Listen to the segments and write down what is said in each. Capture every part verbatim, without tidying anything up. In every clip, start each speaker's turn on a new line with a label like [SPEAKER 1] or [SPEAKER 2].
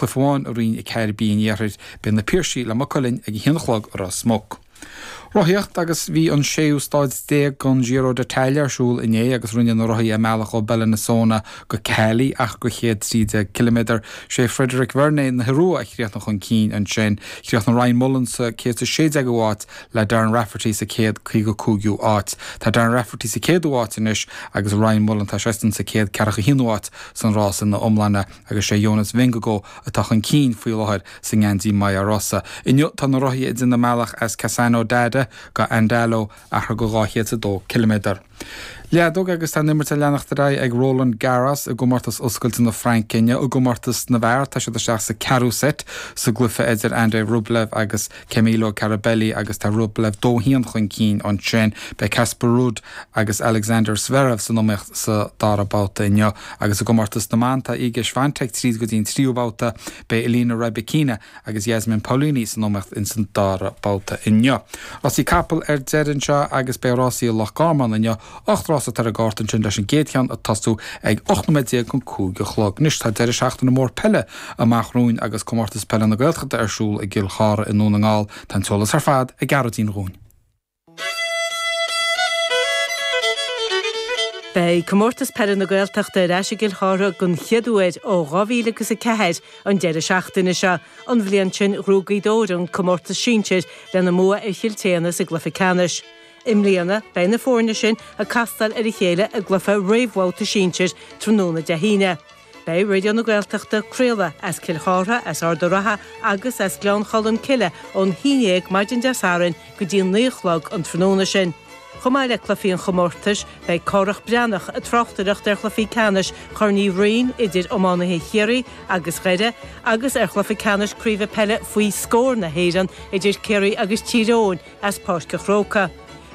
[SPEAKER 1] Cluiche amháin i Roinn a ceathair B an Iarthair, beidh na Piarsaigh le Maigh Cuilinn ag a haon a chlog i Ros Muc. Rothaíocht agus bhí an séú stáid déag den Giro d'Italia ar siúl inné agus rinne na rothaithe a mbealach ó Bellinzona go Cagli achar de chéad trí déag ciliméadar. Sé Frédéric Vergnes na hIorua a chríochnaigh chun cinn ansin. Chríochnaigh Ryan Mullen sa céad is sé déagú háit le Darren Rafferty sa céad caoga cúigiú áit. Tá Darren Rafferty sa céadú háit anois agus Ryan Mullen tá seisean sa céad ceathracha haonú áit san rás ina iomláine agus sé Jonas Vingegaard atá chun cinn faoi láthair sa ngeansaí Maglia Rosa. Inniu tá na rothaithe ag déanamh a mbealach as Cassano d'Adda go Andalo achar de dhá chéad is a dó ciliméadar. Leadóg agus tá an imirt ag leanacht ar aghaidh ag Roland Garros i gcomórtas oscailte na Fraince inniu. I gcomórtas na bhfear tá siad isteach sa ceathrú seit sa gcluiche idir Andrei Rublev agus Camilo Carabelli agus tá Rublev dó haon chun cinn ansin. Beidh Casper Ruud agus Alexander Zverev san iomaíocht sa dara babhta inniu. Agus i gcomórtas na mban tá Iga Swiatek tríd go dtí an tríú babhta beidh Elena Rybakina agus Jasmine Paolini san iomaíocht ins an dara babhta inniu. Rásaí capall ar deireadh anseo agus beidh rásaí i Loch Garman inniu. Ocht rás atá ar an gcárta ansin leis an gcéad cheann ag tosú ag ocht nóiméad déag chun cúig a chlog. Anois tá deireadh seachtaine mór peile amach romhainn agus comórtas peile na Gaeltachta ar siúl i gCill Chartha i nDún na nGall. Tá an t-eolas ar fad ag Gearóidín dhúinn.
[SPEAKER 2] Beidh Comórtas Peile na Gaeltachta ar ais i gCill Chartha den chéad uair ó dhá mhíle agus a ceathair an deireadh seachtaine seo. An bhliain sin ghnóthaigh Gaoth Dobhair an comórtas sinsir lena mbua ar Chill tSéadhna sa gcluiche ceannais. I mbliana, beidh na foirne sin ag castáil ar a chéile i gcluiche réamhbhabhta sinsir tráthnóna Dé hAoine. Beidh Raidió na Gaeltachta ag craoladh as Cill Chartha, as Ard an Rátha agus as Gleann Cholm Cille ón haon dhéag maidin Dé Sathairn go dtí a naoi a chlog an tráthnóna sin. Chomh maith le cluichí an chomórtais, beidh Cárthach Breathnach ag tráchtaireacht ar chluichí ceannais Chorn Uí Rinn idir iománaithe Chiarraí agus Dhoire agus ar chluiche ceannais Craoibhe Peile faoi scór na hÉireann idir Ciarraí agus Tír Eoghain as Páirc an Chrócaigh.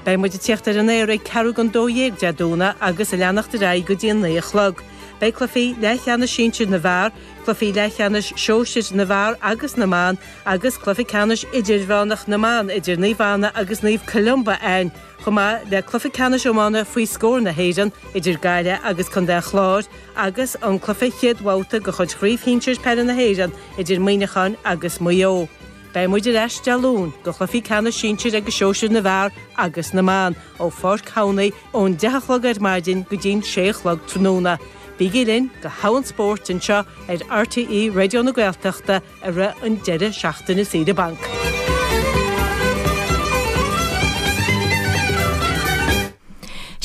[SPEAKER 2] Beidh muid ag tíocht ar an aer ag ceathrú don dó dhéag Dé Domhnaigh agus ag leanacht ar aghaidh go dtí a naoi a chlog. Beidh cluichí leathcheannais sinsir na bhfear, cluichí leathcheannais sóisir na bhfear agus na mban agus cluiche ceannais idirmheánach na mban idir Naomh Anna agus Naomh Columba ann, chomh maith le cluiche ceannais iomána faoi scór na hÉireann idir Gaillimh agus Contae an Chláir agus an cluiche chéad bhabhta de chuid Chraobh Shinsir Peile na hÉireann idir Muineachán agus Maigh Eo. Beidh muid ar ais Dé Luain do chluichí ceannais sinsir agus sóisir na bhfear agus na mban ó Pháirc Thamhnaigh ón deich a chlog ar maidin go dtí'n sé a chlog tráthnóna. Bígí linn do thogha an spóirt anseo ar RTÉ Raidió na Gaeltachta i rith an deireadh seachtaine saoire bainc.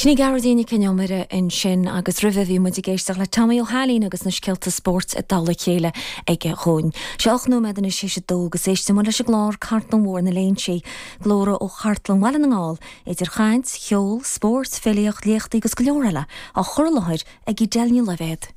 [SPEAKER 3] Sin í Gearóidín Nic Con Iomaire ansin agus roimhe bhí muid ag éisteacht le Tommy Ó hAilín agus na scéalta spóirt i dtoll a chéile aige dhúinn. Sé ocht nóiméad anois théis a dó agus éistfidh muid leis an gclár Cartlann Mhór na Léinsí, glórtha ó Chartlann Bhaile na nGall, idir chaint, cheol, spórt, filíocht, léachtaí agus go leor eile á chur i láthair ag Edel Ní Loibhéad.